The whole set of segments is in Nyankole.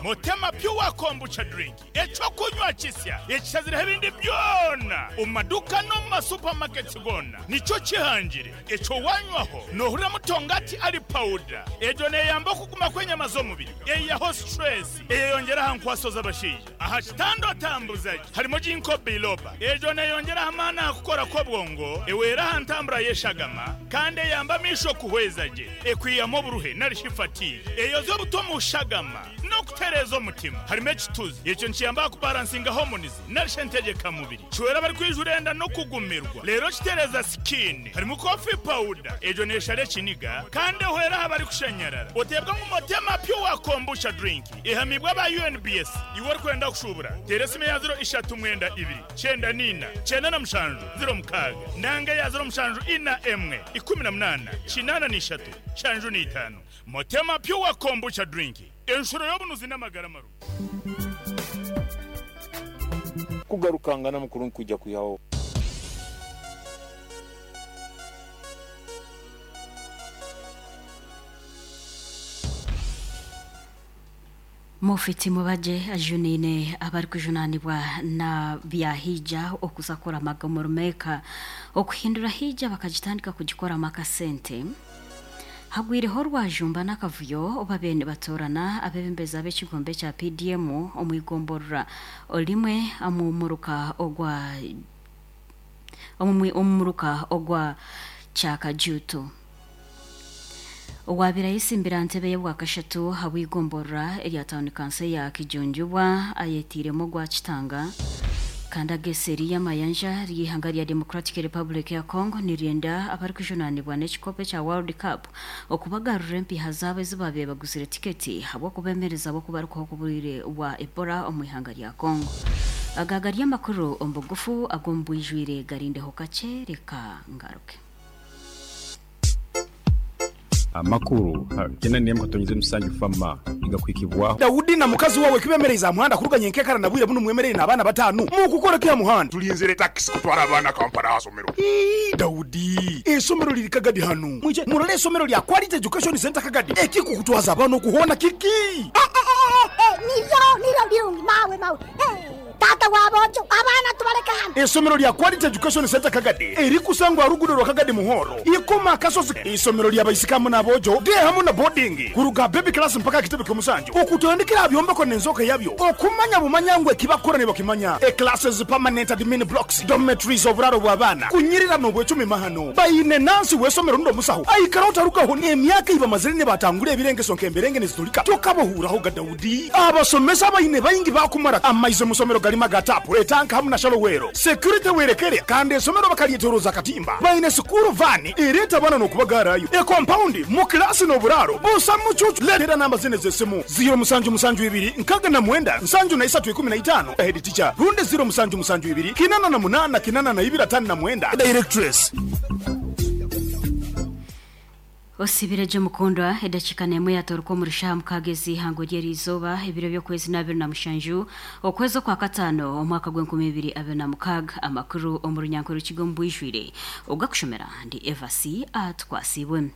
Mutema Pure Kombucha Drink, eky'okunywa kisya ekishazireho ebindi byona omu maduuka n'omu ma supermarkets goona nikyo kihangire. Ekyo wanywaho nohurira mutongati ari powder. Egyo neyamba okuguma kw'enyama z'omubiri, eyihaho stress, eyeyongyera aha nkwaso z'abashaija. Aha kitanda otambuza gye harimu Ginkgo biloba. Egyo neeyongyera amaani aha kukora kw'obwongo, ehwera aha ntambura y'eshagama, kandi eyamba amaisho kuhweza gye. Ekwihamu oburuhe nari shi fatigue. Eyozya obutwa omu shagama n'okutereeza omutima. Harimu ekituzi. Ekyo nikiyamba aha kubaransinga hormones nari shi entegyekamubiri. Kihwera abarikwijura enda n'okugumirwa. Reero kitereeza skin. Harimu coffee powder. Egyo neeshara ekiniga kandi ehwera aha barikushanyarara. Oteebwa ngu Motema Pure Kombucha Drink. Ehamibwe aba UNBS. Iwe orikwenda kushuubura, teera esimu eya ziro ishatu mwenda ibiri, kyenda n'ina, kyenda na mushanju, ziro mukaaga, nanga eya ziro mushanju ina emwe, 18, 83, nshanju n'eitaano. Motema Pure Kombucha Drink, enshuro y'obunuzi n'amagara marungi. Kugarukangana mukuru nikwija kwihaho. Mufiti Mubajje ajunaine abarikujunaanibwa na bya Hijja okuza kuramaga omuri Mecca okuhindura Hijja bakagitandika kugikoramu akasente. Hagwireho orwajumba n'akavuyo babaire nibatoorana abeebembezi ab'ekigombe ekya PDM omu igomborora rimwe omu muruka ogwa omu muruka ogwa Kyakajuutu. Owaabaire ayetsimbire aha ntebe y'obwakashatu ahabw'eigomborora erya tauni kanso eya Kijunjubwa ayetiiremu ogwa Kitanga kandi ag'eseeri y'amayanja ry'eihanga rya Democratic Republic ya Congo niryenda abarikujunaanibwa n'ekikopo ekya World Cup okubagarurira empiiha zaabo ezi baabaire baguzire tiketi ahabw'okubeemereza ahabw'okubarukaho kw'oburwaire bwa Ebola omu ihanga rya Congo. Aga gari amakuru omu bugufu ag'omu bwijwire garindeho kakye reka ngaruke. Amakuru 94.7 FAMA nigakuhikibwaho. Daudi na mukazi wawe kibemereize aha muhanda kuruga nyenkekara na bwire bunu mwemereire n'abaana batanu mukukora ki aha muhanda? Tulinzire takisi kutwara abaana Kampala aha somero. Ii, Daudi, eisomero liri Kagadi hanu. Mwije murole eisomero lya Quality Education Centre Kagadi. Ekikukutwaza abaana oku hoona kiki? Niryo, niryo birungi mawe, mawe. Taata wa boojo, abaana tubaleke hanu. Eisomero lya Quality Education Centre Kagadi erikusangwa aha ruguudo rwa Kagadi Muhoro, Ikoma Akasozi. Eisomero lya baisiki hamu n'aboojo, day hamu na boarding, kuruga aha baby class mpaka aha kitebe ky'omusanju. Okutandikira aha byombeko n'enzooka yabyo, okumanya bumanya ngu eki bakukora nibakimanya. E-classes, permanent admin blocks, dormitories, oburaaro bw'abaana, kunyirira n'obwecumi mahano. Baine nansi w'eisomero rundi omusaho aikara otarugaho n'emyaka ei bamazire nibatangura ebirengeso nk'emberenge niziturika tokabohuuraho ga Daudi. Abasomesa abaine baingi baakumara amaizi omu somero garimu aga taapu, etanka hamu na shallow well. Security werekere kandi esomero bakaryetoroza akatimba. Baine sikuuru vaani ereeta abaana n'okubagaarayo. Ekompaundi, mu kilaasi n'oburaaro busa mucuucu. Leetera namba zinu ez'esimu, ziiro musanju musanju ibiri nkaga na mwenda nsanju na isatu 15, Head teacher, rundi ziiro musanju musanju ibiri kinana na munana kinana na ibiri atano na mwenda, Directress. Osibire gye mukundwa, edakiika n'emwe yaatooroka omuri shaaha mukaaga ez'eihangwe ry'eriizooba, ebiro by'okwezi n'abiri na mushanju, okwezi okwakataano, omwaka gw'enkumi ibiri abiri na mukaaga. Amakuru omu runyankore rukiga omu bwijwire, ogakushomera ndi Evasi Atukwasiibwe.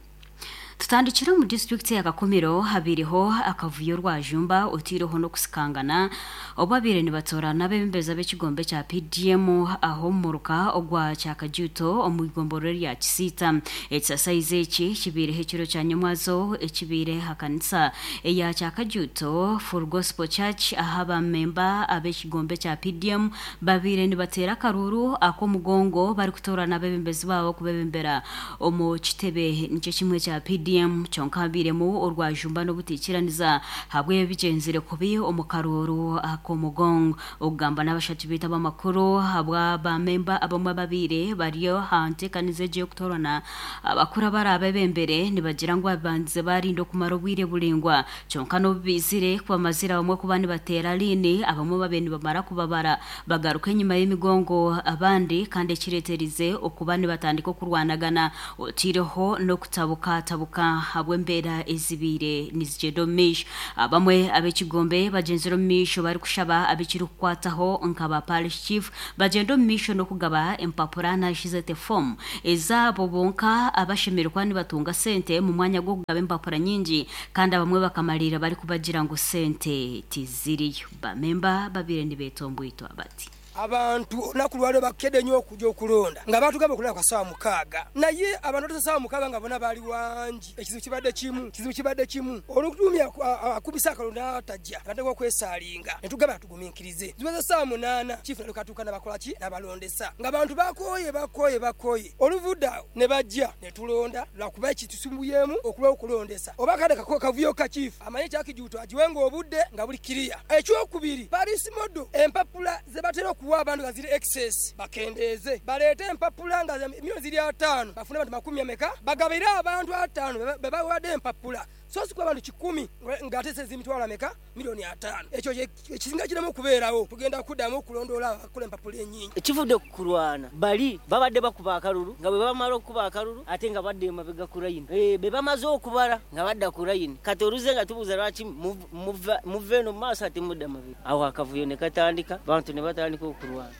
Tutandikire omu disiturikiti eya Kakumiro habaireho akavuyo rwajumba oteireho n'okusikangana obu babaire nibatoorana abeebembezi ab'ekigombe ekya PDM aha omu muruka ogwa Kyakajuuto omu igomborora erya Kisiita. Ekisasaizi eki kibaireho ekiro kya nyomwazo ekibaire aha kanisa eya Kyakajuuto Full Gospel Church ahu abamemba ab'ekigombe ekya PDM babaire nibateera akaruuru ak'omugongo barikutoorana abeebembezi baabo kubebembera omu kitebe nikyo kimwe ekya PDM kyonka habairemu orwajumba n'obutaikiraniza ahabw'ebigyenzire kubi omu karuuru ak'omugongo. Okugamba n'abashatu baitu ab'amakuru ahabwa ba memba abamwe ababaire bari aha nteekaniza egi ey'okutoorana abakuru abaraabebembere nibagira ngu babandize baarinda okumara obwire buraingwa kyonka n'obu baizire kubamazire abamwe kuba nibateera liini abamwe babaire nibamara kubabara Bagaruka enyima y'emigongo abandi kandi ekireeterize okuba nibatandika okurwanagana otaireho n'okutabuka tabuka. omuruka ahabw'embeera ezibaire nizigyenda omu maisho. Abamwe ab'ekigombe bagyenzire omu maisho barikushaba abekirikukwataho nka ba parish chief bagyende omu maisho n'okugaba empapura narishi zeete foomu ezaabo bonka abashemereire kuba nibatunga sente omu mwanya gw'okugaba empapura nyingi kandi abamwe bakamariira barikubagira ngu sente tiziriyo. Ba memba babaire nibetomboitwa bati. Abantu olunaku lwaleero bakede inho okuja okulonda nga batugamba okulonda kwa saawa mukaaga naye abantu batuuse saawa mukaaga nga bona bali wangi. Ekizibu kibadde kimu, ekizibu kibadde kimu olutumya akubisa akalulu nataja natandika okwesaalinga netugamba tuguminkirize. Ziweze saawa munaana chief nalyoka atuuka nabakola ki? Nabalondesa nga abantu bakooye bakooye bakooye. Oluvudde agho nebaja netulonda lwakuba ekitusumbuyemu okulwawo okulondesa oba akade kavuyo ka chief amanye ekya Kijuuto agiwenga obudde nga buli kiriya. Ekyokubiri, Parish Model, empapula ze batera okuwa abantu nga ziri excess bakendeeze. Baleete empapula nga milioni ziri ataanu bafune abantu makumi ameka? Bagabire abantu ataanu be bawadde empapula so si kuwa bantu kikumi nga ate sente ziri mitwalo ameka? Milioni ataanu. Ekyo kye singa kiramu okubeerawo tugenda kudamu okulondoola abo abakola empapula enyingi. Ekivudde ku kulwana, bali babadde bakuba akalulu nga bwe bamala okukuba akalulu ate nga badda emabega ku layini. Be bamaze okubala nga badda ku layini. Kati oluze nga tubuuza lwaki muva eno mu maaso ate mudda mabega. Awo akavuyo ne katandika, abantu ne batandika okulwana.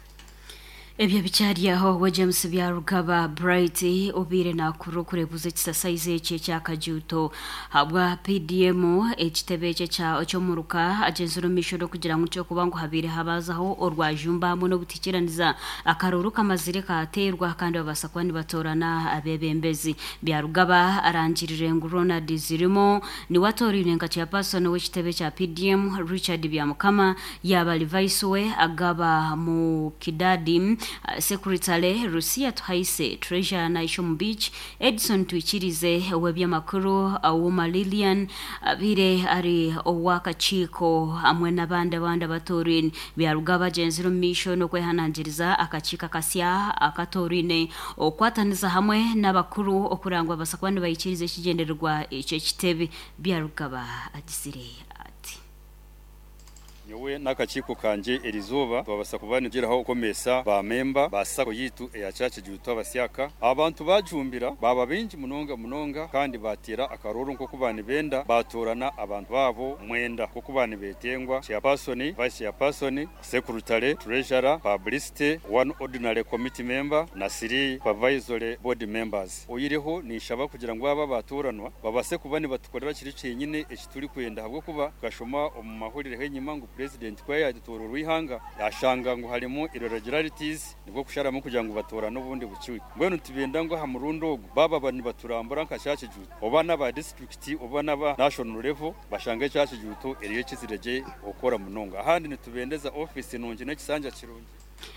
Ebyo bikyari aho we James Byarugaba Bright obaire nakura okureebuza ekisasaizi eki ekya Kajuuto ahabwa PDM ekitebe eki eky'omuruka agyenzire omu maisho n'okugira ngu nikyokuba ngu habaire habazaho orwajumba hamwe n'obutikiraniza akaruuru kamazire kateerwa kandi babaasa kuba nibatoorana abeebembezi. Byarugaba arangirire ngu Ronald Zirimo niwe atoorainwe nka chairperson w'ekitebe kya PDM, Richard Byamukama yaaba ari vice we Agaba Mukidadi, Secretary Lucia Tuhaise, Treasurer Naisha Omubiiki, Edson Twikirize, ow'eby'amakuru Auma Lilian abaire ari ow'akakiiko hamwe n'abandi abandi abatooraine. Byarugaba agyenzire omu maisho n'okwehanangiriza akakiiko akasya akatooraine okukwataniza hamwe n'abakuru okureba ngu babaasa kuba nibahikiiriza ekigyendererwa eky'ekitebe. Byarugaba agizire ati. Nyowe n'akakiiko kangye erizooba twabasa kuba nitugiraho okwomesa ba memba ba sacco yitu eya Kyakijuuto abasyaka. Abantu bajumbira baaba baingi munonga munonga kandi bateera akarooro nk'oku banibenda batorana abantu baabo mwenda nk'oku banibetengwa, Chairperson, Vice Chairperson, Secretary, Treasurer, Publicity, one Ordinary Committee Member na three Supervisory Board Members. Oihireho ninshaba kugira ngu aba abatoranwa babase kuba nibatukorera kiri kyenyine eki turikwenda ahabw'okuba tukashoma omu mahurire g'enyima ngu Purezidenti ku yaatoororwa eihanga yashanga ngu harimu irregularities nibwo kusharamu kugira ngu batoorane obundi bukiiko. Mbwenu nitubenda ngu aha murundi ogu baaba nibaturambura nka Kyakijuuto oba n'aba disiturikiti oba n'aba national level bashange Kyakijuuto eriyo ekizire gye okukora munonga. Ahandi nitubendeza ofiisi nungi n'ekisanja kirungi.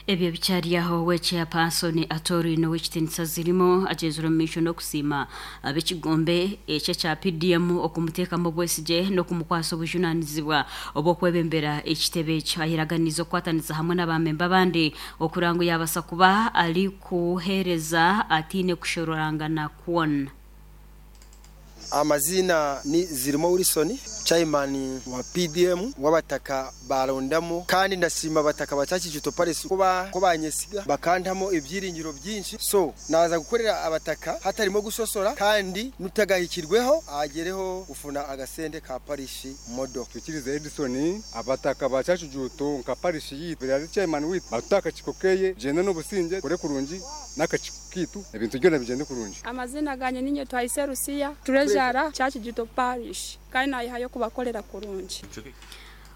Ebyo bikyari aho, we Chairperson atooraine Ow'ekitiinisa Zirimo agyenzire omu maisho n'okusiima ab'ekigombe eki ekya PDM okumuteekamu obwesigye n'okumukwasa obujunaanizibwa obw'okwebembera ekitebe ekyo. Ayeraganiize okukwatanisa hamwe na baamemba abandi okureba ngu yaabaasa kuba arikuheereza ataine kushororangana kwona. Amaziina ni Zirimo Wilson, Chairman wa PDM w'abataka barondamu kandi ndasiima abataka ba Kyakijuto Parish ku banyesiga bakantamu ebyiringiro byingi so naza kukorera abataka hatarimu gusosora kandi nutagahikirweho agyereho kufuna agasente ka parish model. Twikirize Edison, abataka ba Kyakijuto nka parish yitu ari chairman witu batuta akakiko keye tugyende n'obusingye tukore kurungi n'akakiko kitu ebintu byona bigyende kurungi. Amazina ganye ninye Twahise Lucia, Treasurer Kyakijuto Parish kandi nayihayo kubakorera kurungi.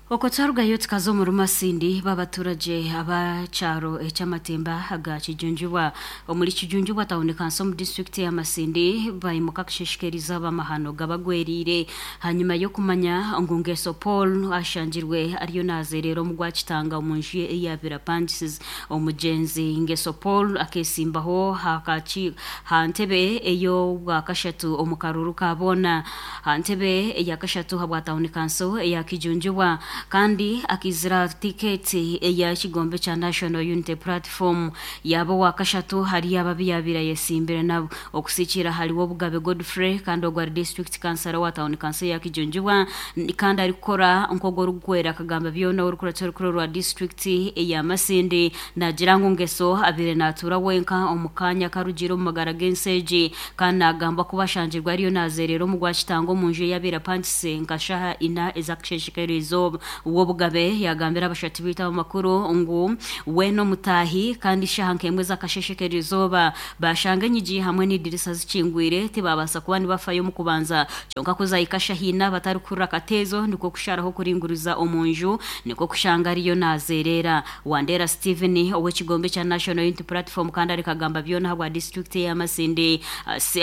Okwo twarugayo tukaza omuri Masindi b'abaturage abakyaro eky'amatemba aga Kijunjubwa omuri Kijunjubwa tawuni kanso omu disiturikiti ya Masindi baimuka kushishikariza ab'amahano gabagweriire hanyuma y'okumanya ngu Ngeso Paul ashangirwe ariyo nazeerera omu gwakitanga omu nju ye ei yaabaire apangisize. Omugyenzi Ngeso Paul akeesimbaho ha ntebe ey'obwakashatu omu karuuru ka boona ha ntebe eyakashatu habwa tawuni kanso eya Kijunjubwa. Kandi akizira tiketi eya kigombe kya National Unity Platform yaba owa kashatu hari ababi yabaire ayesimbire nabo. Okusikira hariwo Obugabe Godfrey kandi ogwo ari district councillor wa town council ya Kijunjibwa kandi arikukora nk'ogwo orikukwera akagamba byona orikuratsa orukuru rwa district eya Masindi. Nagira ngu Ngeso abaire natuura wenka omu kaanya akarugire omu magara g'ensi egi kandi nagambwa kuba ashangirwe ariyo nazereera omu gwakitanga omunju ei abaire apangise nka shaaha ina ezakasheeshe k'eriizooba. Wobugabe yagambira abashatu beitu abamakuru ngu we n'omutaahi kandi shaaha nk'emwe ez'akasheeshe k'eriizooba bashanga enyigi hamwe n'edirisa zikingwire tibabaasa kuba nibafayo omu kubanza kyonka ku zahika shaaha ina batarikuhurira kateezo nikwo kusharaho kuringuriza omunju nikwo kushanga ariyo nazereera. Wandera Stephen ow'ekigombe kya National Unity Platform kandi ari kagamba byona ahabwa disiturikiti eya Masindi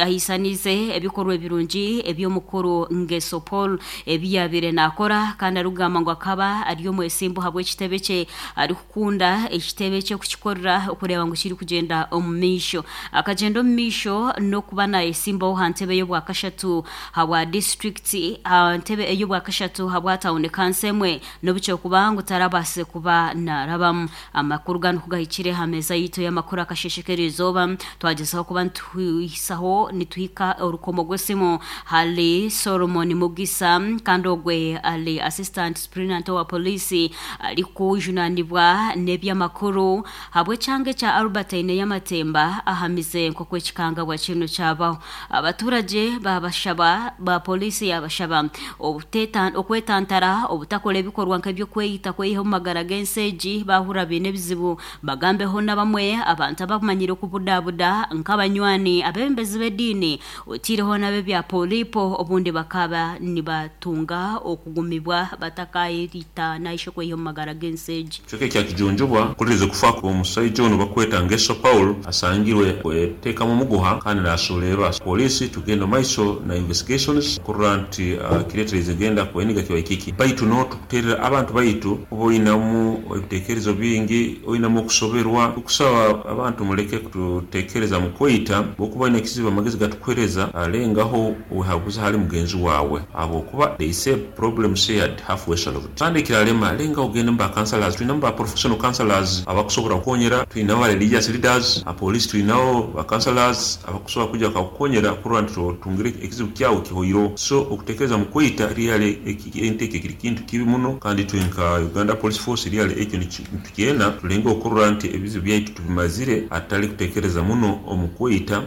ahaisaniize ebikorwa ebirungi eby'omukuru Ngeso Paul ebi yaabaire naakora kandi arikugamba ngu akaba ari omwesimbu ahabw'ekitebe kye arikukunda ekitebe kye kukikorera okureeba ngu kirikugyenda omu maisho. Akagyenda omu maisho n'okuba naayesimbaho aha ntebe y'obwakashatu ahabwa disiturikiti aha ntebe ey'obwakashatu ahabwa tauni kanso emwe n'obu kyokuba ngu tarabaasize kuba naarabamu. Amakuru ganu ku gahikire aha meeza yaitu y'amakuru akasheeshe k'eriizooba, twagyezaho kuba nituhisaho nituhika orukomo rw'esimu hali Solomon Mugisa kandi ogwe ari Assistant Superintendent owa Poliisi arikujunanibwa n'eby'amakuru ahabw'ekyanga ekya Albertine ey'amatemba ahamize nk'oku ekikangabwa kinu kyabaho. Abaturagye baabashaba ba Poliisi yaabashaba okwetantara obutakora ebikorwa nk'eby'okweyita kweyiha omu magara g'ensi egi baahurira baine ebizibu bagambeho n'abamwe abantu abamanyire okubudabuda nk'abanywani, abeebembezi b'ediini otaireho n'ab'ebya polipo obundi bakaba nibatunga okugumibwa batakayeyita nahisha okweyiha omu magara g'ensi egi. Ekicweka ekya Kijunjubwa kuhuririza okufa kw'omusaija onu bakweta Ngeso Paul asangirwe kwetekamu omuguha kandi nasuulerwa. Poliisi tugenda omu maiso na investigations kurora nti kireeterize genda kweniga kibaire kiki. Baitu no tukuterera abantu baitu kuba oinamu ebitekerezo bingi, oinamu okusoberwa, tukusaba abantu muleke kututekereza mukweyita, bwokuba oine ekizibu amagezi gatukuhereza lengaho wehaguze hali mugenzi wawe ahabwokuba they say problem shared half way solved. Kandi ekirarema lengaho ogende mu ba counsellors, twinamu ba professional counsellors abakusobora kukonyera, twinaho ba religious leaders, ha police twinaho ba counsellors abakusobora kwija bakakukonyera kurora nti otungire ekizibu kyawe kihoireho. So okutekereza mu kweyita really ente ekyo kiri kintu kibi muno kandi itwe nka Uganda Police Force really ekyo nitukyena tulengeho kurora nti ebizibu byaitu tubimazire hatali kutekereza muno omu kweyita.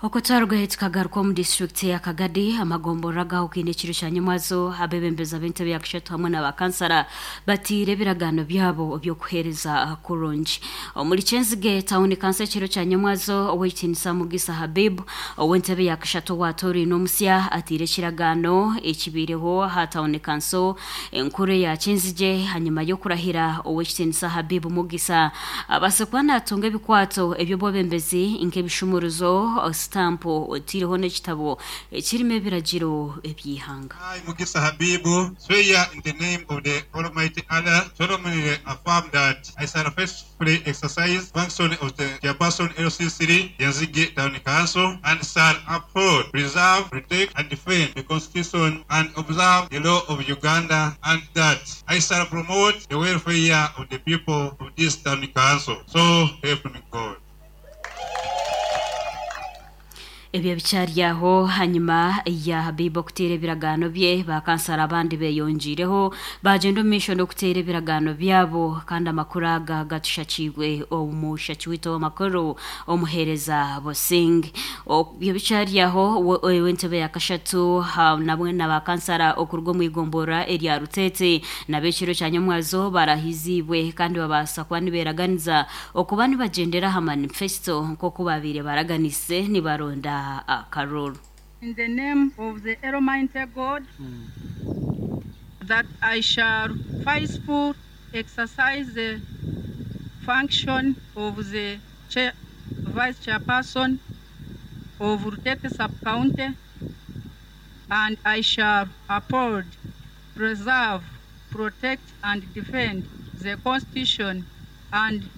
Okwo twarugayo tukagaruka omu disiturikiti eya Kagadi, amagomborora agahukaine ekiro kya nyomwazo, abeebembezi ab'entebe ya kashatu hamwe na bakansara bataire ebiragaano byabo by'okuheereza kurungi. Omuri Kyenzige tauni kanso ekiro kya nyomwazo, Ow'ekitiinisa Mugisa Habib ow'entebe ya kashatu owaatoorainwe omusya ataire ekiragaano ekibaireho aha tauni kanso enkuru eya Kyenzigye ahanyima y'okurahira Ow'ekitiinisa Habib Mugisa Abaase kuba naatunga ebikwato eby'obwebembezi nk'ebishumuruzo, sitampu, otaireho n'ekitabo ekirimu ebiragiro eby'eihanga. I, Mugisa Habib, swear in the name of the Almighty Allah, solemnly affirm that I shall faithfully exercise function of the Chairperson LC3 Kyenzigye Town Council and shall uphold, preserve, protect and defend the Constitution and observe the law of Uganda and that I shall promote the welfare of the people of this town council. So help me God. Ebyo bikyari aho hanyima ya Habib okuteera ebiragaano bye, ba kansara abandi beyongiireho bagyenda omu maisho n'okuteera ebiragaano byabo kandi amakuru aga gatushakiibwe omushaki waitu ow'amakuru omuheereza Busing. Ebyo bikyari aho, ow'entebe ya kashatu nabwe na ba kansara okuruga omu igomborora erya Ruteete nabo ekiro kya nyomwazo barahiziibwe kandi babaasa kuba niberaganiza okuba nibagyendera aha manifesto nk'oku babaire baraganise nibaronda akaruuru. In the name of the Almighty God, that I shall faithfully exercise the function of the chair, vice chairperson of Rutete Sub-County, and I shall uphold, preserve, protect and defend the Constitution and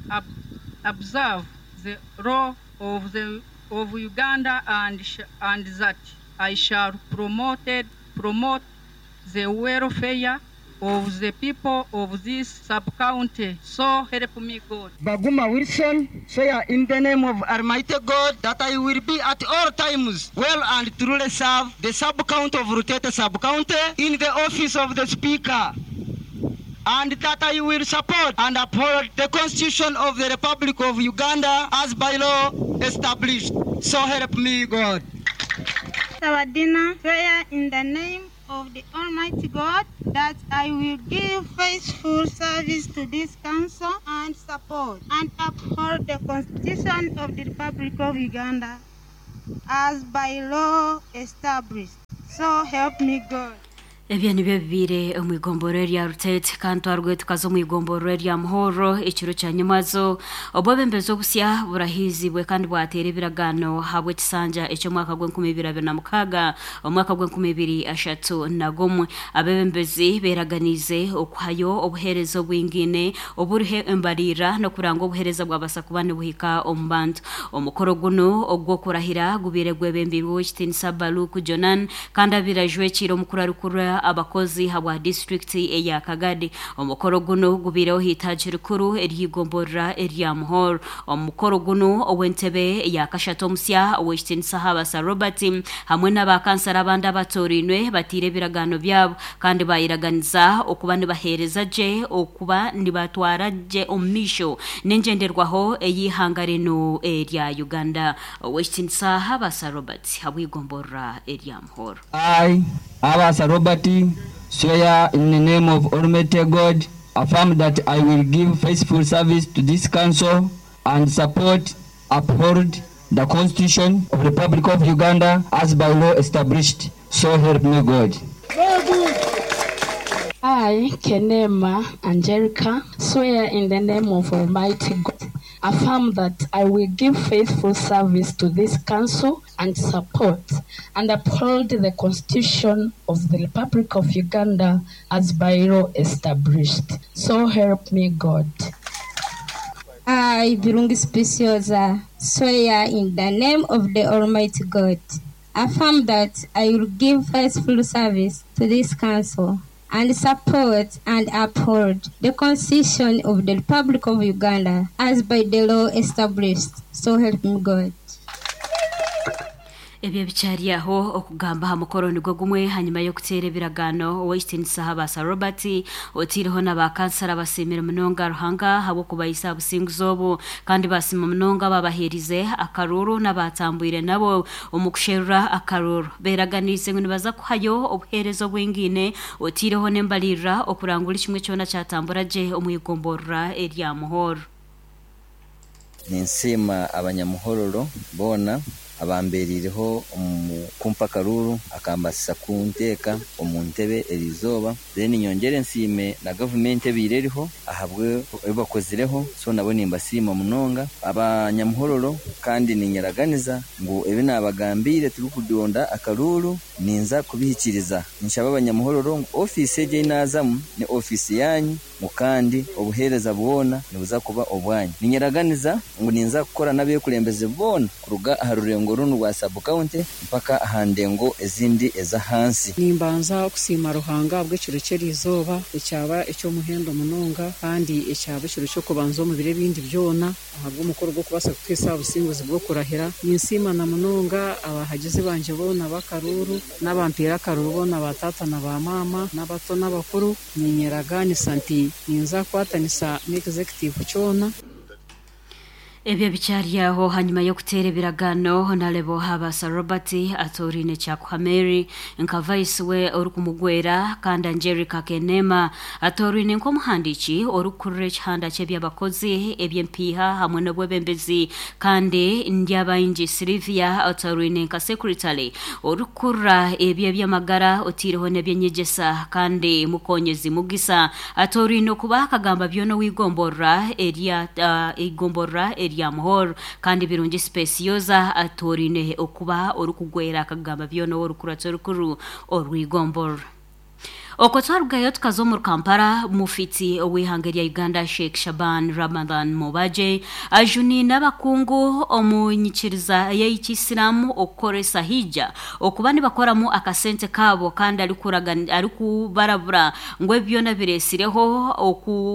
observe the law of, the, of Uganda and, and that I shall promote the welfare of the people of this sub-county. So help me God. Baguma Wilson, swear in the name of Almighty God that I will be at all times well and truly serve the sub-county of Rutete sub-county in the office of the Speaker, and that I will support and uphold the Constitution of the Republic of Uganda as by law established. So help me God. Sawadina, swear in the name of the Almighty God that I will give faithful service to this council and support and uphold the Constitution of the Republic of Uganda as by law established. So help me God. Ebyo nibyo bibaire omu igomborora erya Rutete kandi twarugayo tukaza omu igomborora erya Muhorro ekiro kya nyimwazo. Obwebembezi obusya burahiizibwe kandi bwateera ebiragaano ahabw'ekisanja eky'omwaka gw'enkumi ibiri abiri na mukaaga omwaka gw'enkumi ibiri ashatu na gumwe. Abebembezi beeraganiize okuhayo obuheereza obwingaine oburiho embariira n'okuranga obuheereza bwabasa kuba nibuhika omu bantu. Omukoro gunu ogw'okurahira gubaire gwebembeirwe Owekitiinisa Baluku Jonan kandi abaire ajwekiire omukuru arikukurira abakozi habwa disiturikiti eya Kagadi. Omukoro gunu gubaireho aha itaagi rikuru ery'eigomborora erya Muhoro. Omu mukoro gunu, ow'entebe eya kashatu omusya, Owekitiinisa Habasa Robert hamwe n'aba kansara abandi abatoorainwe bataire ebiragaano byabo kandi bayeraganiza okuba nibaheereza gye okuba nibatwara gye omu maisho n'engyenderwaho ey'eihanga rinu erya Uganda. Owekitiinisa Habasa Robert habw'eigomborora erya Muhoro. I, Habasa Robert, swear in the name of Almighty God, affirm that I will give faithful service to this council and support, uphold the Constitution of the Republic of Uganda as by law established. So help me God. I, Kenema Angelica, swear in the name of Almighty God, affirm that I will give faithful service to this council and support and uphold the Constitution of the Republic of Uganda as by law established. So help me God. I, Birungi Speciosa, swear in the name of the Almighty God, affirm that I will give faithful service to this council and support and uphold the Constitution of the Republic of Uganda as by the law established. So help me God. Ebyo bikyari aho okugamba aha mukoro nigwo gumwe hanyuma y'okuteera ebiragaano Owekitiinisa Habasa Robert otaireho na ba kansara basiimire munonga Ruhanga ahabw'okubahiisa aha businguzi obu kandi basiima munonga ababaheerize akaruuru n'abatambwire nabo omu kusherura akaruuru. Beeraganiise ngu nibaza kuhayo obuheereza obwingaine otaireho n'embariirira okurangura kimwe kyona kyatambura gye omu igomborora erya Muhoro. Ninsiima abanyamuhororo boona abambereireho omu kumpa akaruuru akambaasisa kunteeka omu ntebe eriizooba. Then nyongyere nsiime na gavumenti ebaire eriho ahabw'ebi bakozireho so nabo nimbasiima munonga. Abanyamuhororo kandi ninyeraganiza ngu ebi naabagambiire turikudonda akaruuru ninza kubihikiiriza. Ninshaba abanyamuhororo ngu ofiisi egi ei naazamu ni ofiisi yaanyu ngu kandi obuheereza bwona nibuza kuba obwanyu. Ninyeraganiza ngu ninza kukora n'abeekurembeze boona kuruga aha rurengo runu rwa sub-county mpaka aha ndengo ezindi ez'ahansi. Nimbanza kusiima Ruhanga ahabw'ekiro ky'eriizooba ekyaba eky'omuhendo munonga kandi ekyaba ekiro ky'okubanza omu biro ebindi byona ahabw'omukoro gw'okubaasa kutuhitsya aha businguzi bw'okurahira. Ninsiima na munonga abahagizi bangye boona b'akaruuru n'abampeire akaruuru boona ba taata na ba maama n'abato n'abakuru. Niinyeragaanisa nti ninza kukwatanisa n'executive kyona. Ebyo bikyari aho hanyuma y'okuteera ebiragaano Honarebo Habasa Robert atooraine Kyakuha Mary nka vice we orikumugwera kandi Angelica Kenema atooraine nk'omuhandiiki orikukurira ekihanda ky'ebyabakozi eby'empiiha hamwe n'obwebembezi kandi Ndyabaingi Sylvia atooraine nka secretary orikukurira ebyo eby'amagara otaireho n'ebyenyegyesa kandi Mukonyezi Mugisa atooraine okuba akagamba byona ow'eigomborora erya eigomborora erya Muhoro kandi Birungi Specioza atooraine okuba orikugwera akagamba byona ow'orukuratso orukuru orw'eigomborora. Okwo twarugayo tukaza omuri Kampala, mufiti ow'eihanga erya Uganda Sheikh Shaban Ramadhan Mubajje ajuniine abakungu omu nyikiriza y'ekiisiramu okukoresa Hijja okuba nibakoramu akasente kaabo kandi arikubarabura ngu ebi byona biretsireho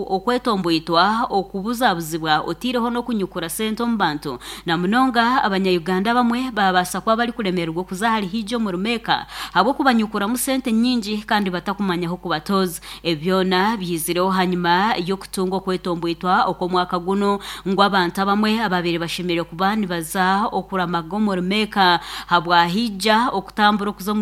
okwetomboitwa, okubuzabuzibwa oteireho n'okunyukura sente omu bantu na munonga abanya-Uganda abamwe babaasa kuba barikuremererwa okuza ahari Hijja omuri Mecca ahabw'okubanyukuramu sente nyingi kandi batakumanya ah'okubatooza. Ebi byona byizireho hanyima y'okutunga okwetomboitwa okw'omwaka gunu ngu abantu abamwe ababaire bashemereire kuba nibaza okuramaga omuri Mecca ahabwa Hijja okutambura okuza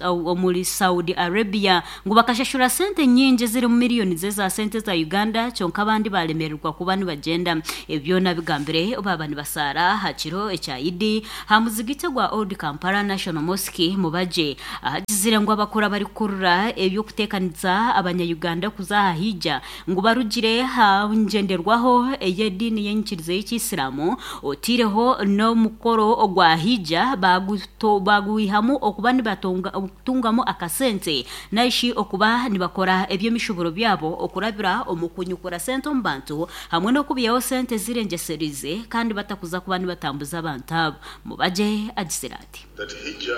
omuri Saudi Arabia ngu bakashashura sente nyingi ezirimu miriyoni z'eza sente za Uganda kyonka abandi baremererwa kuba nibagyenda. Ebi byona bigambire baaba nibasaara aha kiro ekya Idi aha muzigiti ogwa Old Kampala National Mosque Mubajje ahagizire ngu abakuru abarikukurura eby'okuteekanisa abanya-Uganda kuza aha Hijja ngu barugire aha ngyenderwaho ey'ediini y'enyikiriza y'ekiisiramu oteireho n'omukoro ogwa Hijja bagwihamu okuba nibatungamu akasente narishi okuba nibakora eby'emishuburo byabo okurabira omu kunyukura sente omu bantu hamwe n'okubaihaho sente ezirengyesereize kandi batakuza kuba nibatambuza abantu abo. Mubajje agizire ati. That Hijja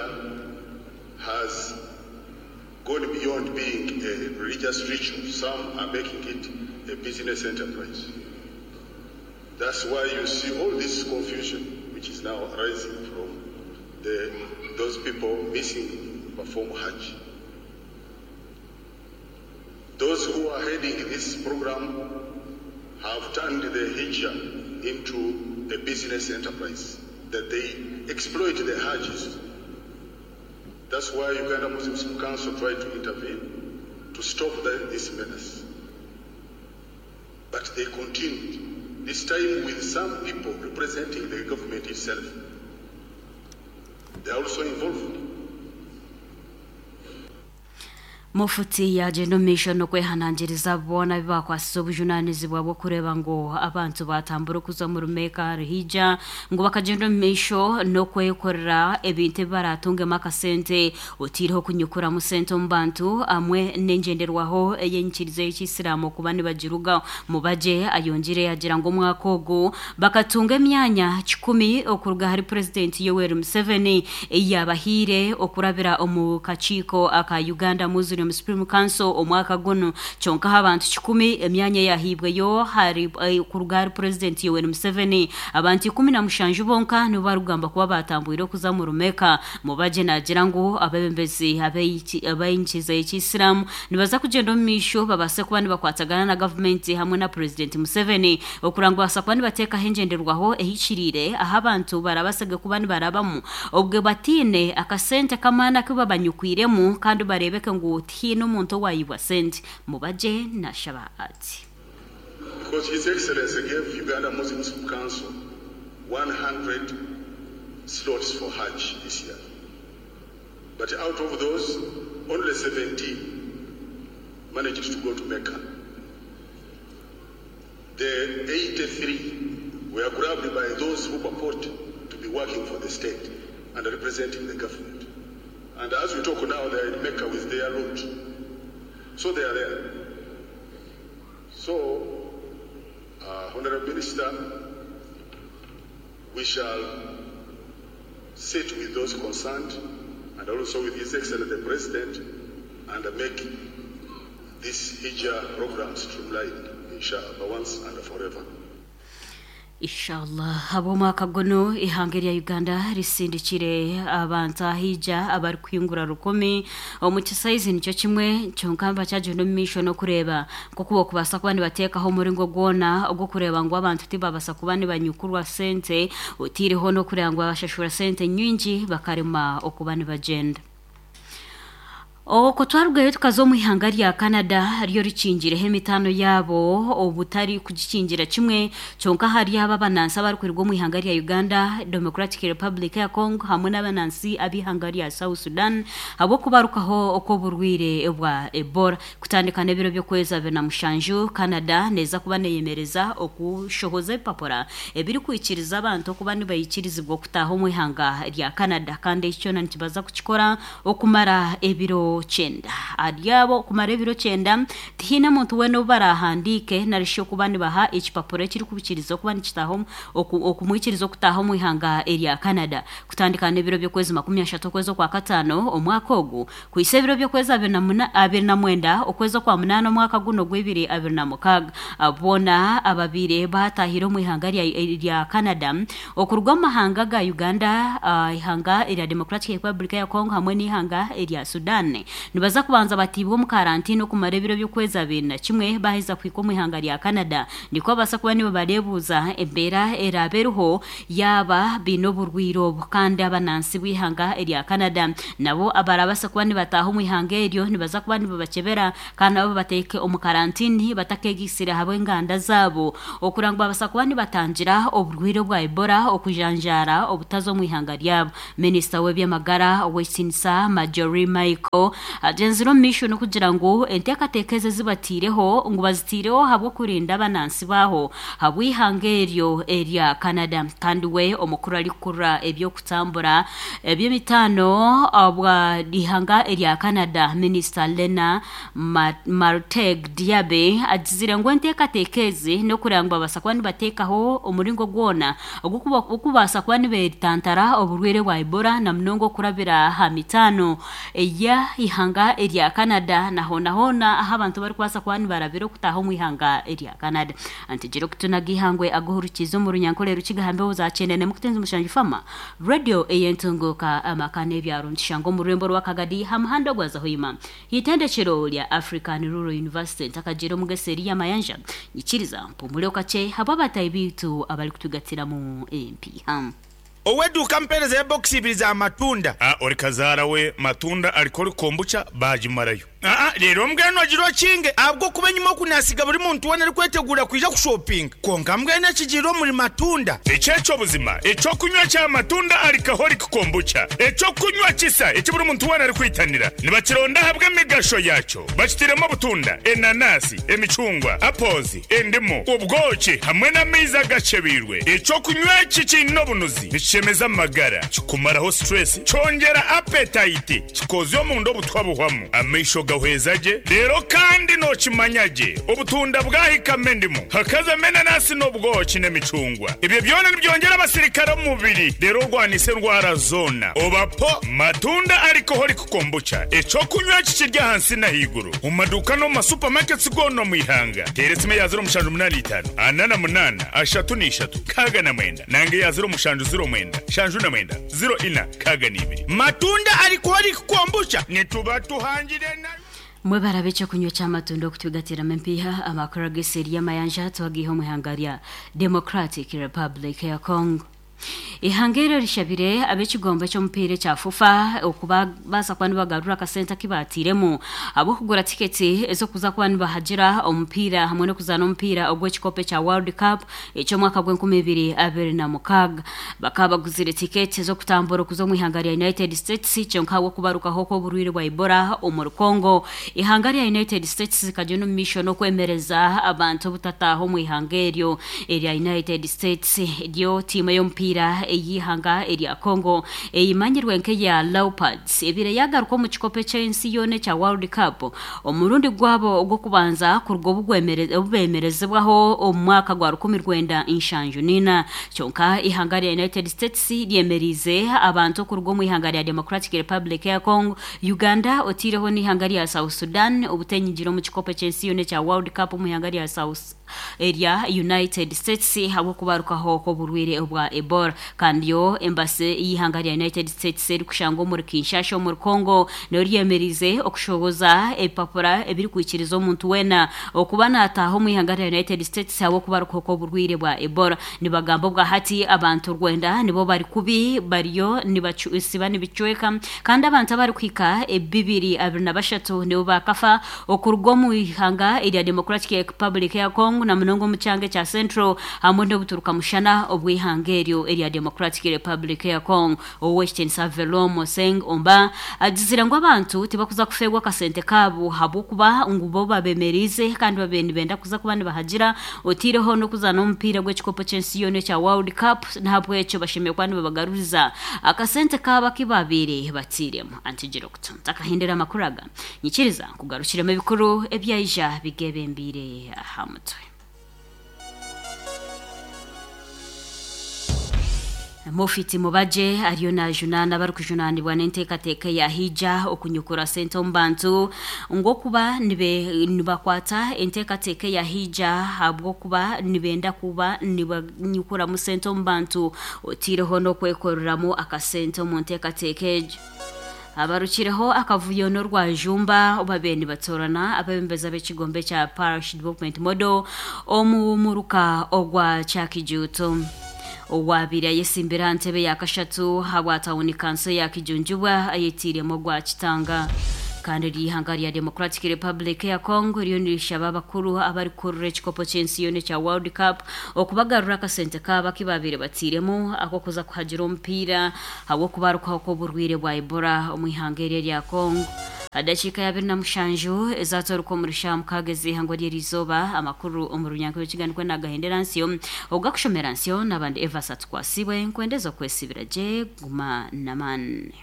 has gone beyond being a religious ritual, some are making it a business enterprise. That's why you see all this confusion which is now arising from the, those people missing perform Hajj. Those who are heading this program have turned the Hijjah into a business enterprise that they exploit the Hajjis. That's why Uganda Muslim Council tried to intervene to stop this menace. But they continued, this time with some people representing the government itself. They are also involved. Mufuti yagyenda omu maisho n'okwehanangiriza boona abu bakwasize obujunaanizibwa bw'okureeba ngu abantu baatambura okuza omuri Mecca ahari Hijja ngu bakagyenda omu maisho n'okwekorera ebintu ebi baraatungemu akasente oteireho okunyukuramu sente omu bantu hamwe n'engyenderwaho ey'enyikiriza y'ekiisiramu okuba nibagirugaho. Mubajje ayongyire yaagira ngu omwaka ogu bakatunga emyanya kikumi okuruga ahari Purezidenti Yoweri Museveni ei yaabahaire okurabira omu kakiiko aka Uganda Muslim Supreme Council omwaka gunu. Kyonka aha bantu kikumi emyanya eyahaibweyo kuruga ahari Purezidenti Yoweri Museveni, abantu 17 bonka nibo barikugamba kuba baatambwire okuza omuri Mecca. Mubajje naagira ngu abeebembezi ab'enyikiriza y'ekiisiramu nibaza kugyenda omu maisho babaase kuba nibakwatagana na gavumenti hamwe na Purezidenti Museveni okureba ngu babaasa kuba nibateekaho engyenderwaho ehikiriire ahu abantu barabaasege kuba nibarabamu obwe bataine akasente k'amaani aku babanyukwiremu kandi bareebeke ngu tihaine omuntu owaayibwa sente. Mubajje naashaba ati. Because His Excellency gave Uganda Muslim Supreme Council 100 slots for Hajj this year. But out of those, only 17 managed to go to Mecca. The 83 were grabbed by those who purport to be working for the state and representing the government. And as we talk now, they are in Mecca with their loot. So they are there. So, Honorable Minister, we shall sit with those concerned and also with His Excellency the President and make this Hijjah program streamlined, inshallah, once and forever. Inshallah. Habw'omwaka gunu, eihanga erya Uganda risindikire abantu ahaija abarikuhingura rukumi omu kisaizi nikyo kimwe kyonka bakyagenda omu maisho n'okureeba nk'oku barikubaasa kuba nibateekaho omuringo gwona ogw'okureeba ngu abantu tibabaasa kuba nibanyukurwa sente oteireho n'okureeba ngu babashashura sente nyingi bakarema okuba nibagyenda. Okwo twarugayo tukaza omu ihanga rya Canada ryo rikingireho emitaano yaabo obutari kugikingira kimwe kyonka ahari abo abanansi abarikuruga omu ihanga rya Uganda, Democratic Republic ya Congo hamwe n'abanansi ab'ihanga rya South Sudan ahabw'okubarukaho okw'oburwaire bwa Ebola. Kutandika n'ebiro by'okwezi 27, Canada neeza kuba neeyemereza okushohoza ebipapura ebirikwikiriza abantu okuba nibaikirizibwa okutaaha omu ihanga rya Canada kandi eki kyona nikibaza kukikora okumara ebiro ebiro kyenda. Ahari abo kumara ebiro kyenda, tihaine muntu weena ou baraahandiike nari shi okuba nibaha ekipapura ekirikubikiriza okuba nikitaaha okumwikiriza okutaaha omu ihanga erya Canada. Kutandika n'ebiro by'okwezi 30 okwezi Okwakataano omwaka ogu kuhitsya ebiro by'okwezi 29 okwezi Okwamunaana omwaka guno ogw'ebiri abiri na mukaaga. Boona ababaire baataahire omu ihanga rya Canada okuruga omu mahanga ga Uganda, eihanga erya Democratic Republic ya Congo hamwe n'eihanga erya Sudan nibaza kubanza bataibwe omu karantiini okumara ebiro by'okwezi 21 baaheza kuhika omu ihanga rya Canada nikwo babaasa kuba nibabareebuuza embeera eraabe eriho yaaba baine oburwaire obu. Kandi abanansi b'eihanga erya Canada nabo abarabaase kuba nibataaha omu ihanga eryo nibaza kuba nibabakyebera kandi nabo babateeke omu karantiini batakeegaitsire ahabw'enganda zaabo okureba ngu babaasa kuba nibatangira oburwaire obwa Ebola okujanjaara obutaza omu ihanga ryabo. Minisita w'eby'amagara ow'ekitiinisa Marjorie Michael agyenzire omu maisho n'okugira ngu enteekateeka ezi ezi bataireho ngu bazitaireho ahabw'okurinda abanansi baaho ahabw'eihanga eryo erya Canada. Kandi we omukuru arikukurira eby'okutambura eby'emitaano obwa ihanga erya Canada, Minisita Lena Marteg Diaby agizire ngu enteekateeka ezi n'okureba ngu babaasa kuba nibateekaho omuringo gwona ogw'okubaasa kuba nibeetantara oburwaire bwa Ebola na munonga okurabira aha mitaano ey'eihanga erya Canada na hoona hoona ahu abantu barikubaasa kuba nibarabira okutaaha omu ihanga erya Canada. Antegire okutunaga eihangwe aguhurukiize omu Runyankore Rukiga aha mbeho za Kyenda n'emwe 7 Fama Radio ey'entunguuka amaka n'ebyaro nikishangwa omu rurembo rwa Kagadi aha muhanda ogwaza Hoima. Eitendekero rya African Rural University ntakagiire omu gesi eri y'amayanja nyikiriza mpumureho kakye habw'abataahi baitu abarikutugatiramu empiiha. Ow'eduuka ampeereza ebokisi ibiri za matunda. A Ori kazaara we matunda alcoholic kombucha baagimarayo. Aa Reero mbwenu ogire okinge ahabw'okuba enyima oku naasiga buri muntu weena arikweteguura kwija kushopinga. Kwonka mbwenu ekigiire omuri matunda. Eki eky'obuzima eky'okunywa kya matunda alcoholic kombucha, eky'okunywa kisa eki buri muntu weena arikwitanira. Nibakironda ahabw'emigasho yaakyo. Bakitiremu obutunda, enanasi, emicungwa, apples, endimu, obwoki hamwe n'amaizi agakyebeirwe. Eky'okunywa eki kiine obunuzi, nikishemeza amagara, kikumaraho stress, kyongyera appetite, kikozya omunda obutwa buhwamu, amaisho gahweza gye, reero kandi nookimanya gye obutunda bwahikamu endimu, hakazamu enanasi n'obwoki n'emicungwa. Ebyo byona nibyongyera abasirikare omu mubiri reero orwanise endwara zoona. Oba po matunda alcoholic kombucha, eky'okunywa eki kiri ahansi n'ahaiguru omu maduuka n'omu ma supermarkets goona omu ihanga. Teera esimu eya 0785 48 33 69 nanga eya 0709 79 04 62. Matunda alcoholic kombucha nituba tuhangire nayo. Mwebare ab'ekyokunywa eky'amatunda okutwigatiramu empiiha, amakuru ag'eseeri y'amayanja twagaiha omu ihanga rya Democratic Republic ya Congo. Eihanga eryo rishabire ab'ekigombe ky'omupiira ekya FUFA okubaasa kuba nibagarura akasente aku baatairemu ahabw'okugura tiketi ez'okuza kuba nibahagira omupiira hamwe n'okuzaana omupiira ogw'ekikopo ekya World Cup eky'omwaka gw'enkumi ibiri abiri na mukaaga. Bakaba baguzire tiketi z'okutambura okuza omu ihanga rya United States kyonka ahabw'okubarukaho kw'oburwaire bwa Ebola omuri Congo, eihanga rya United States rikagyenda omu maisho n'okwemereza abantu obutataaha omu ihanga eryo. Erya United States ryo tiimu ey'omupiira ey'eihanga erya Congo eyimanyirwe nk'eya Leopards ebaire yaagaruka omu kikopo eky'ensi yoona ekya World Cup omurundi gwabo ogw'okubanza kuruga obu beemerezibwaho omu mwaka gwa 1974. Kyonka eihanga rya United States ryemereize abantu okuruga omu ihanga rya Democratic Republic ya Congo, Uganda oteireho n'eihanga rya South Sudan obutenyigira omu kikopo eky'ensi yoona ekya World Cup omu ihanga rya South erya United States ahabw'okubarukaho kw'oburwaire obwa Ebola. Kandi yo embasi y'eihanga rya United States erikushangwa omuri Kinshasha omuri Congo nayo ryemereize okushohoza ebipapura ebirikwikiriza omuntu weena okuba nataaha omu ihanga rya United States ahabw'okubarukaho kw'oburwaire bwa Ebola. Nibagamba obwahati abantu rwenda nibo bari kubi bariyo nibasiba nibicweka kandi abantu abarikuhika 223 nibo bakafa Okuruga omu ihanga erya Democratic Republic ya Congo. Congo na munonga omu kyanga ekya Central hamwe n'obuturuka mushana obw'eihanga eryo erya Democratic Republic ya Congo. Owekitiinisa Velo Moseng Omba agizire ngu abantu tibakuza kufeerwa akasente kaabo ahabw'okuba ngu bo babemeriize kandi babaire nibenda kuza kuba nibahagira otaireho n'okuzaana omupiira gw'ekikopo ky'ensi yoona ekya World Cup n'ahabw'ekyo bashemereire kuba nibabagaruriza akasente kaabo aku babaire batairemu. Antigira okutu ntakahindura amakuru aga nyikiriza nkugarukiremu ebikuru ebyaija bigebembeire aha mutwe. Mufiti Mubajje ariyo najunaana abarikujunaanibwa n'enteekateeka eya Hija okunyukura sente omu bantu ngu okuba nibakwata enteekateeka eya Hija ahabw'okuba nibenda kuba nibanyukuramu sente omu bantu otaireho n'okwekoreramu akasente omu nteekateeka egyo. Abarukireho akavuyo n'orwajumba babaire nibatoorana abeebembezi ab'ekigombe ekya Parish Development Model omu muruka ogwa Kyakijuuto. Owaabaire ayesimbire aha ntebe ya kashatu ahabwa tauni kanso ya Kijunjubwa ayetiiremu ogwa Kitanga. Kandi eryo eihanga rya Democratic Republic eya Congo ririyo nirishaba abakuru abarikukurira ekikopo ky'ensi yoona ekya World Cup okubagarura akasente kaabo aku baabaire batairemu ak'okuza kuhagira omupiira ahabw'okubarukaho kw'oburwaire bwa Ebola omu ihanga eryo erya Congo. Dakiika ya 27 ezatoruka omuri shaaha mukaaga ez'eihangwe ry'eriizooba, amakuru omu runyankore rw'ekiganiko nagahendera nsyo, ogakushomera nsyo n'abandi Evas Atukwasibwe, nkwendeza okwesibira gye, guma n'amaani.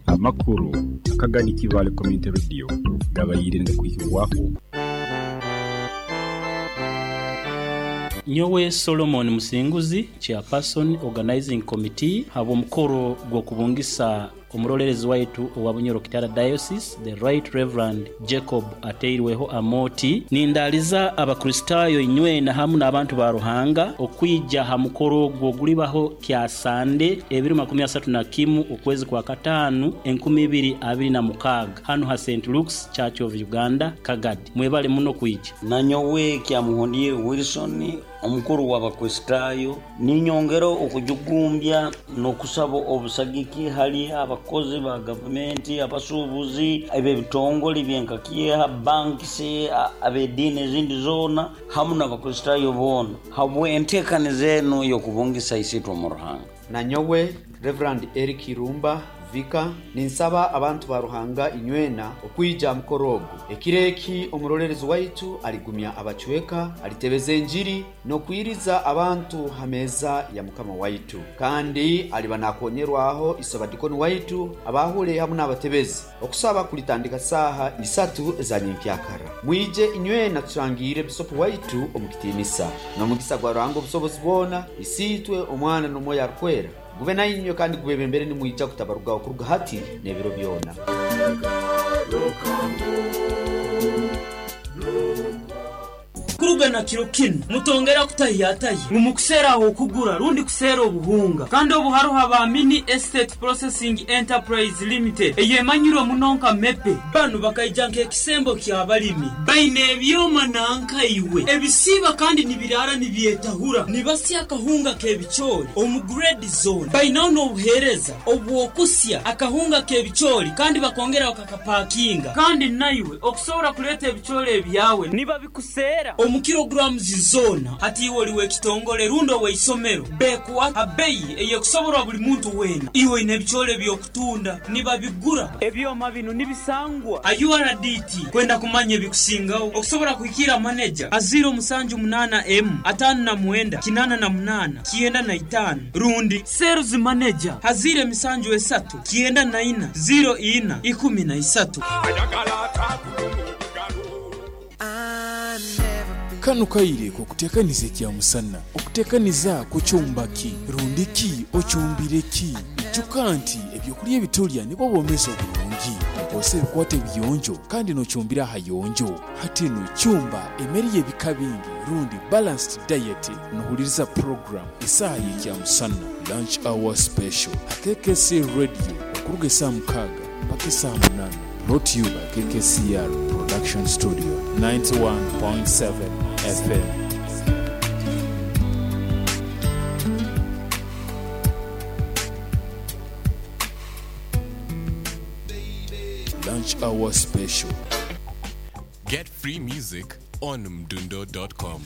Amakuru akagani Kibaale Community Radio gabaire nigakwihibwaho. Nyowe Solomon Musinguzi, Chairperson Organizing Committee habw'omukoro gw'okubungisa Omuroleerezi waitu owa Bunyoro Kitara Diocese, The Right Rev. Jacob Ateirweho Amooti, nindaaliza Abakristaayo inywena hamu n'abantu ba Ruhanga okwija ha mukoro ogwo ogulibaho Kyasande ebiro 31 okwezi kwa Kataanu 2026 hanu ha Saint Luke's Church of Uganda, Kagadi. Mwebale muno kwija. Nanyowe Kyamuhundire Wilson Omukuru w'Abakristaayo, ninyongera okujugumbya n'okusaba obusagiki hali abakozi ba gavumenti, abasuubuzi, ab'ebitongole ebyenka Kieha, banks, ab'ediini ezindi zoona hamu n'Abakristaayo boona habw'enteekaniza enu ey'okubungisa Isiitwe omu Ruhanga. Nanyowe Rev. Eric Irumba, Vicar, ninsaba abantu ba Ruhanga inywena okwija aha mukoro ogu. Ekiro eki omuroleerezi waitu aligumya abacweka, alitebeza enjiri, n'okwiriza abantu ha meeza ya Mukama waitu. Kandi aliba nakonyerwaho isabadikoni waitu, abaahule hamu n'abatebezi. Okusaba kulitandika saaha isatu eza nyenkyakara. Mwije inywena turangiire Bisopu waitu omu kitiinisa. N'omugisa gwa Ruhanga Obusobozi bwona, Isiitwe, Omwana, n'Omwoyo Arukwera, gube nainywe kandi gubebembere nimwija kutabarugaho kuruga hati n'ebiro byona. Kuruga na kiro kinu, mutongera kutahiyatahya ngu mukuseera ah'okugura rundi kuseera obuhunga. Kandi obu haroho aba Mini Estate Processing Enterprise Limited eyemanyirwe muno nka MEPE. Banu bakaija nk'ekisembo ky'abalimi. Baine ebyoma nanka iwe ebisiiba kandi nibiraara nibyetahura, nibasya akahunga k'ebicoori omu grade zoona. Bainaho n'obuheereza obw'okusya akahunga k'ebicoori kandi bakongera bakakapakinga. Kandi naiwe okusobora kuleeta ebicoori ebyawe nibabikuseera omu kilograms zoona. Hati iwe oli w'ekitongole rundi ow'eisomero, bekuha ha beyi ey'ekusoborwa buli muntu weena. Iwe oine ebicoori eby'okutunda, nibabigura. Ebyoma binu nibisangwa ha URDT. Kwenda kumanya ebikusingaho, okusobora kuhikiira maneja ha 078 emu 59 88 95 rundi Sales Manager ha 073 94 04 13. Kanu kaire k'okuteekaniza ekyamusana. Okuteekaniza kukyumba ki? Rundi ki okyumbire ki? Ijuka nti ebyokulya ebitulya nibwo bwomeezi oburungi. Okozesa ebikwato ebiyonjo kandi n'okyumbira ahayonjo. Hati nu kyumba emere y'ebika bingi rundi balanced diet nohuliriza program Esaaha y'Ekyamusana, Lunch Hour Special, ha KKC Radio okuruga esaaha mukaaga mpaka esaaha munaana. Brought to you by KKCR Production Studio, 91.7 FM. Lunch Hour Special. Get free music on mdundo.com.